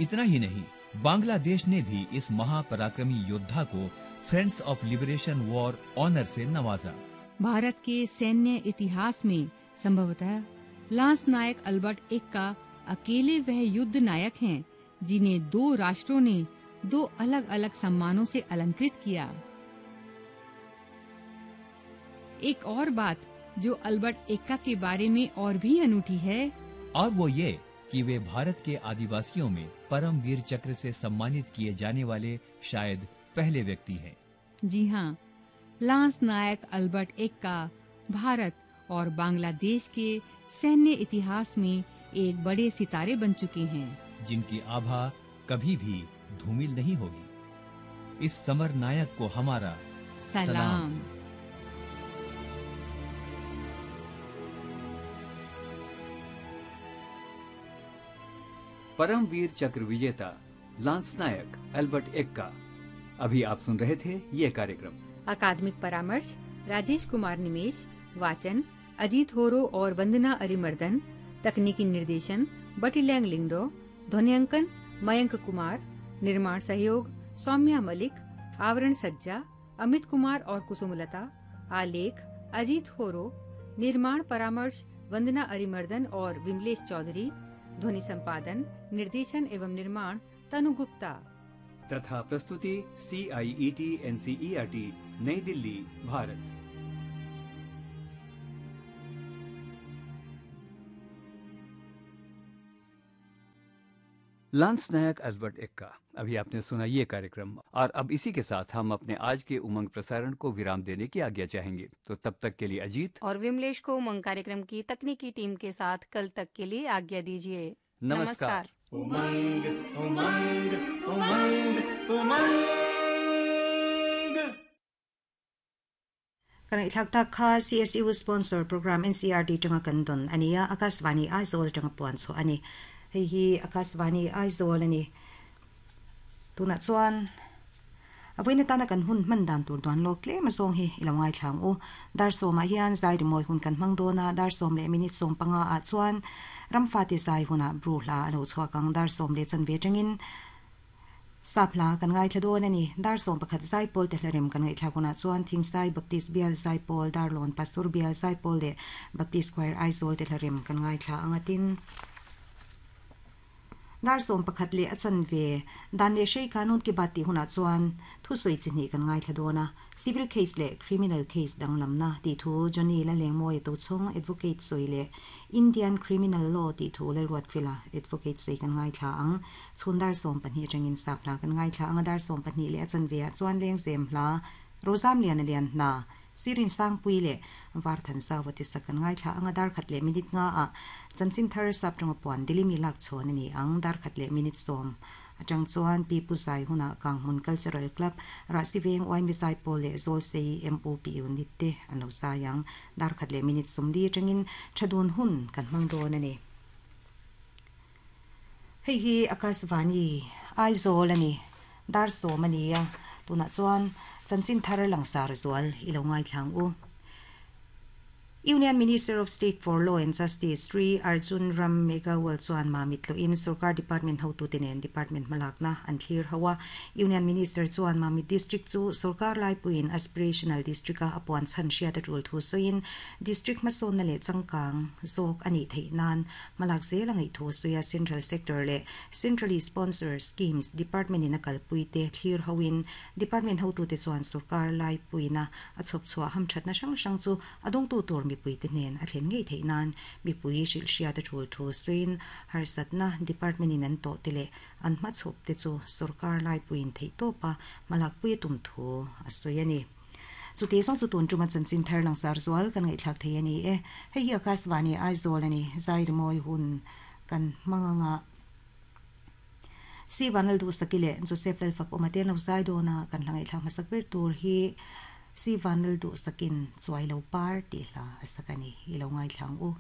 इतना ही नहीं, बांग्लादेश ने भी इस महापराक्रमी योद्धा को friends of liberation war honour से नवाजा। भारत के सैन्य इतिहास में संभवतः लांस नायक अल्बर्ट एक्का अकेले वह युद्ध नायक हैं जिन्हें दो राष्ट्रों ने दो अलग-अलग सम्मानों से अलंकृत किया। एक और बात जो अल्बर्ट एक्का के बारे में और भी अनूठी है, और वो ये कि वे भारत के आदिवासियों में परमवीर चक्र से सम्मानित किए जाने वाले शायद पहले व्यक्ति हैं। जी हाँ, लांस नायक अल्बर्ट एक्का भारत और बांग्लादेश के सैन्य इतिहास में एक बड़े सितारे बन चुके हैं, जिनकी आभा कभी भी धूमिल नहीं होगी। इस समर नायक को हमारा सलाम। परमवीर चक्र विजेता लांस नायक अल्बर्ट एक्का। अभी आप सुन रहे थे ये कार्यक्रम। अकादमिक परामर्श राजेश कुमार निमेश, वाचन अजीत होरो और वंदना अरिमर्दन, तकनीकी निर्देशन बटीलैंग लिंगडो, ध्वनियांकन मयंक कुमार, निर्माण सहयोग सौम्या मलिक, आवरण सज्जा अमित कुमार और कुसुमलता, आलेख अजीत होरो, निर्माण परामर्श वंदना अरिमर्दन और विमलेश चौधरी, ध्वनि संपादन, निर्देशन एवं निर्माण तनु गुप्ता तथा प्रस्तुति CIET NCERT नई दिल्ली, भारत। लांस नायक अल्बर्ट एक्का, अभी आपने सुना ये कार्यक्रम। और अब इसी के साथ हम अपने आज के उमंग प्रसारण को विराम देने की आज्ञा चाहेंगे। तो तब तक के लिए अजीत और विमलेश को उमंग कार्यक्रम की तकनीकी टीम के साथ कल तक के लिए आज्ञा दीजिए। नमस्कार। उमंग उमंग उमंग उमंग Kana ithlak kha CSU sponsor program NCRD tanga kandon ania Akashvani Aizawl tanga puan chu ani. Hei hi Akashvani Aizawl ani. Tuna chuan avoina tana kan hun man dan tur duan lo tle ma song hi ilo ngai thlang u. Dar sawma hian zai rimoi hun kan hmang dawna dar sawm leh minute 15 ah chuan ramfa ti zai huna bru hla alo chhuak ang dar sawm leh chanve tangin sapla kan ngai thadon ani dar som pakhat zai pol te hlarem kan ngai thlakuna chuan Thingsai Baptist Bial zai pol Darlawn Pastor Bial zai pol le Baptist Choir Aizawl te hlarem kan ngai thla angatin dar som pakhat le achan ve dan le shei kanun ki bati huna chuan thu soi chini kan ngai thladona civil case le criminal case dang lamna ti thu Johnny la lengmoi to chong advocate soi le Indian criminal law ti thu le ruat fila advocate soi kan ngai thla ang chundar som pahnih tangin sapla kan ngai thla ang dar som pahnih le achan ve chuan leng zem hla rozam lian lian na sirin sang pui le var than sa wati sakan ngai thla anga dar khat le minute nga a chanchin thar sap tang puan dilimi lak chon ani ang dar khat le minute som atang chuan pi pu sai huna Kanghmun Cultural Club Rasiveng oi mi sai pole zol sei MOP unit te ano sayang dar khat le minute som li tangin thadun hun kan mang don ani. Hei hi Akashvani Aizawl ani dar som ani a tuna chuan chanchin thar langsar zual ilo ngai thlang u. Union Minister of State for Law and Justice Sri Arjun Ram Meghwal chuan Mamit lo in Sarkar Department hotu tenen Department malakna an thlir hawa. Union Minister chuan Mamit District chu Sarkar laipuin aspirational district a apuan chan hriat a tul thu soin district mason na le changkang zawk ani thei nan malak zel angai thu soya central sector le centrally sponsored schemes department in a kalpui te thlir hawin department hotu te chuan Sarkar laipuina a chhop chhuah ham thatna hrang hrang chu adong tu tur mi pui te nen a thlen ngei thei nan mi pui hril hria te thul thu soin harsatna department in an to te le an hma chhop te chu Sarkar lai puin thei topa malak pui tum thu a soi ani. Chu te song chu tun tuma chanchin thar lang sar zual kan ngai thlak thei ani e. Hei hi Akashvani Aizawl ani zai rimoi hun kan manganga si vanal du sakile Joseph Lalfak umaten lo zai dona kan langai thlak masak ber tur hi si vanal du sakin chuai lo par ti hla asakani ilo ngai thlang u.